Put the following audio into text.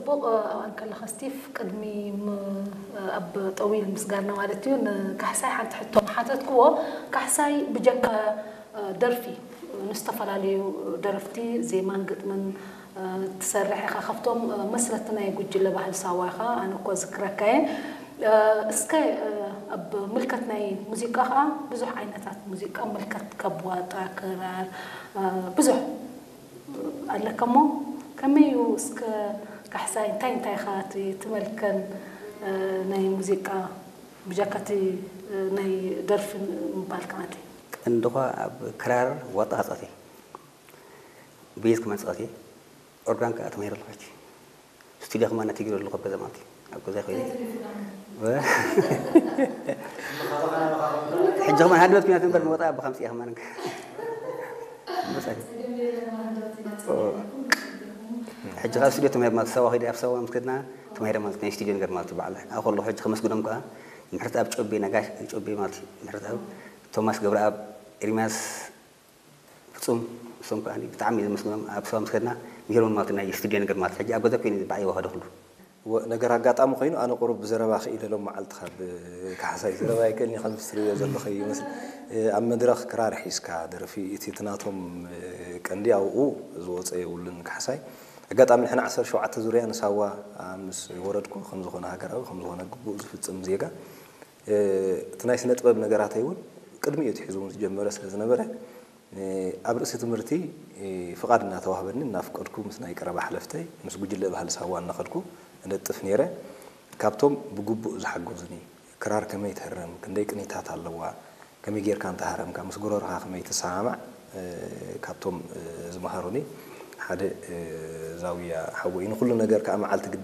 ጽቡቕ። ኣብኣ ከለኻ ስቲፍ፣ ቅድሚ ም- ኣብ ጠዊል ምስጋና ማለት እዩ፣ ንካሕሳይ ሓንቲ ሕቶ ምሓተትክዎ። ካሕሳይ ብጀካ ደርፊ ንዝተፈላለዩ ደረፍቲ ዜማን ግጥምን ትሰርሕ ኢኻ። ካብቶም መስረቲ ናይ ጉጅለ ባህሊ ሳዋ ኢኻ፣ ኣነ እኮ ዝክረካ እየ። እስከ ኣብ ምልከት ናይ ሙዚቃ ከዓ ብዙሕ ዓይነታት ሙዚቃ ምልከት፣ ካብ ዋጣ፣ ክራር፣ ብዙሕ ኣለካ እሞ፣ ከመይ እዩ እስከ ካሕሳይ፣ እንታይ እንታይ ኢኻ እቲ ትመልከን ናይ ሙዚቃ ብጃካ እቲ ናይ ደርፊ ምባል ከዓቲ? ቀንድኳ ኣብ ክራር ዋጣ ክጻወት እየ። ቤዝ ክመን ጻወት እየ። ኦርጋን ከኣ ተማሂረ ኣለኹ። ስቱድዮ ከማን ኣተጊሩ ኣለኹ ኣብ ገዛ ማለት እዩ። ኣብ ገዛ ኮይነ። ሕጂ ከማን ሃድበት ኩናት እምበር መወጣ ኣብ ከምጽእ እየ ከማን። መጻኢ። ሕጂ ካብ ስቱድዮ ተማሂረ ማለት ሳዋ ከይደ ኣብ ሳዋ ምስ ከድና ተማሂረ ማለት ናይ ስቱድዮ ነገር ማለት እዩ። በዓል ኣብኡ ከለኹ ሕጂ ከመስግኖም ከኣ ምሕረተኣብ ጮቤ፣ ነጋሽ ጮቤ ማለት እዩ። ምሕረተኣብ፣ ቶማስ ገብረኣብ፣ ኤርሚያስ ፍጹም፣ እሶም ከኣ ብጣዕሚ እየ ዘመስግኖም። ኣብ ሳዋ ምስ ከድና ምሂሮም ማለት ናይ ስቱድዮ ነገር ማለት ሕጂ ኣብ ገዛ ኮይነ ባዕለይ ይወሃዶ ኩሉ። ወ- ነገር ኣጋጣሚ ኮይኑ ኣነ ቁሩብ ብዘረባ ክኢለ ሎም መዓልቲ ካብ ካሕሳይ ዘረባ ይክእልኒ ከም ትርእዮ ዘለኹ ይመስል። እ፣ ኣብ መድረኽ ክራር ሒዝካ ደርፊ እቲ እቲ ናቶም እ፣ ቀንዲ ኣብኡ ዝወፀ የብሉን ካሕሳይ። ኣጋጣሚ ንሕና ዓሰርተ ሸውዓተ ዙርያ ንሳዋ ምስ ወረድኩ ከም ዝኾነ ሃገራዊ ከም ዝኾነ ግቡእ ዝፍጽም ዜጋ እ፣ እቲ ናይ ስነ ጥበብ ነገራተይ እውን ቅድሚ እዩ ትሒዙ እውን ዝጀመረ ስለ ዝነበረ ኣብ ርእሲ ትምህርቲ ፍቓድ እናተዋህበኒ እናፍቀድኩ ምስ ናይ ቀረባ ሓለፍተይ ምስ ጉጅለ ባህሊ ሳዋ እናኸድኩ እነጥፍ ነይረ። ካብቶም ብግቡእ ዝሓገዙኒ ክራር ከመይ ትህረም፣ ክንደይ ቅኒታት ኣለዋ፣ ከመይ ጌርካ እንተሃረምካ ምስ ጎረርኻ ከመይ ትሰማማዕ ካብቶም ዝመሃሩኒ ሓደ ዛውያ ሓወይ ንኩሉ ነገር ከዓ መዓልቲ ግድን